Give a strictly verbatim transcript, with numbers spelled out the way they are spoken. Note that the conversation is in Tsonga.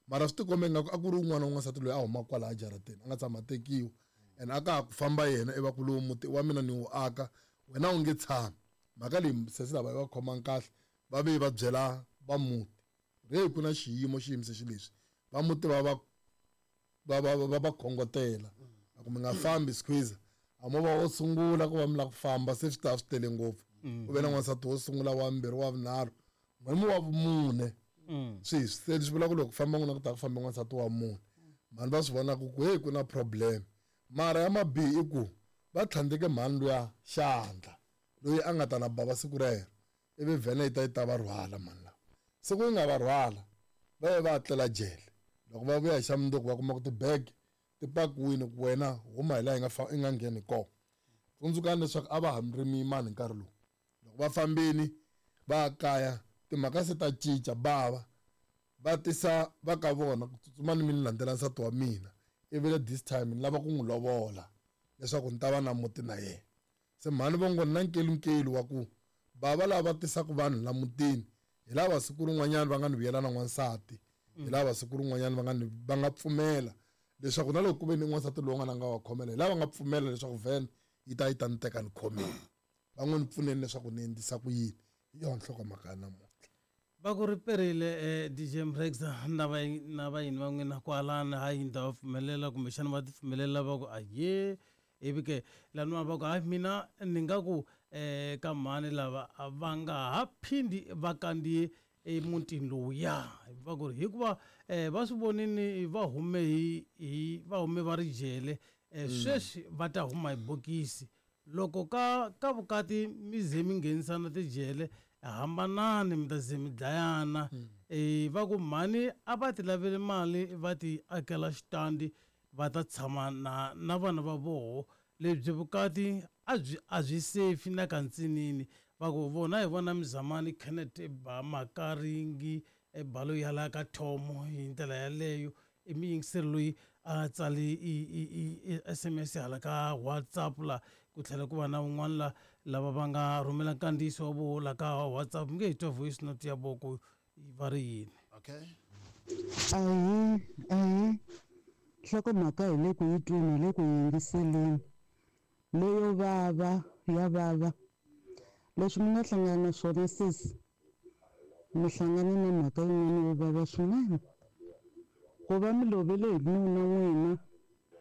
Mara swi tikombe ingaku a ku ri wun'wana wa n'wansati loyi a humaka kwalaya jarateni a nga tshama tekiwa, and a ka ha ku famba yena i va ku lowu muti wa mina ni wu aka, wena u nge tshami. Mhaka leyi sesi lava yi va khomanga kahle, va ve va byela va muti re ku na xiyimo xi yimise xileswi, va muti va va va va va va khongotela ku mi nga fambi squeeze. A mo va wo sungula ku va mi lava ku famba se swi ta swi tele ngopfu. Ku ve na n'wansati wo sungula, wa vumbirhi, wa vunharhu, n'wina wa vumune. Swi se swi vula ku loko ku famba n'wina ku ta ku famba n'wansati wa mune. Mhani va swi vona ku hey ku na problem. Mara ya mabihi i ku va tlhandleke mhani luya xandla loyi a nga ta na bava siku rero, ivi vhene yi ta yi ta va rhwala mhani lava. Siku yi nga va rhwala va ye va tlela jele. Loko va vuya hi xa mundzuku va kuma ku tibege ti pakiwile ku wena huma hi laha yi nga fa i nga ngheni kona. Tsundzukani leswaku a va ha ri miyimani hi nkarhi lowu. Loko va fambini va ya kaya timhaka se ta cinca, bava va tisa va ka vona ku tsutsumani mi ni landzela nsati wa mina, ivi le this time ni lava ku n'wi lovola leswaku ni ta va na muti na yena. Se mhani vo ngo ni na nkelunkelu wa ku bava lava tisaka vanhu la mutini hi lava siku rin'wanyana va nga ni vuyela na n'wansati, hi lava siku rin'wanyana va nga ni va nga pfumela leswaku na loko ku ve ni n'wansati lowu nga na nga wa khomela, hi lava nga pfumela leswaku vhene yi ta yi ta ni teka ni khomile, va n'wi ni pfuneni leswaku ni endlisa ku yini. Hi yona nhlokomhaka ya namuntlha. Va ku ri perile eh, D J Mrekza na va na vayini va n'wina kwalano, hayi ni ta va pfumelela kumbexana va ti pfumelela va ku aye, ivi ke laniwa va ku hayi mina ni nga ku eh, ka mhani lava va nga ha phindi va kandziye emutini lowuya. Va ku ri hikuva eh, va swi vonini va hume hi, hi va hume va ri jele eh, sweswi va ta huma hi bokisi. Loko ka, ka vukati mi ze mi nghenisana tijele, hambanani mi ta ze mi dlayana. Eh, va ku mhani a va ti lavele mali va ti akela xitandi va ta tshama na, na vana va voho. Lebyi vukati a byi, a byi safe na ka ntsinini. Va ku vona hi vona Mzamani Kenneth ba Makaringi e balo ya la ka Thomo hi ndlela yaleyo. I muyingiseri loyi a tsali i, i, i, i S M S hala ka WhatsApp la, ku tlhela ku va na un'wana la lava va nga rhumela nkandziyiso wa voho la ka WhatsApp. Mi nge hi twa voice note ya voko ku va ri yini. Okay. Ahee, ahee. Nhlokomhaka hi le ku yi tweni, hi le ku yingiseleni. Leyo vava, ya vava. Leswi mi nga hlangana na swona sesi, mi hlangane na mhaka yin'wana yo vava swinene. Ku va mi lovele hi nuna n'wina,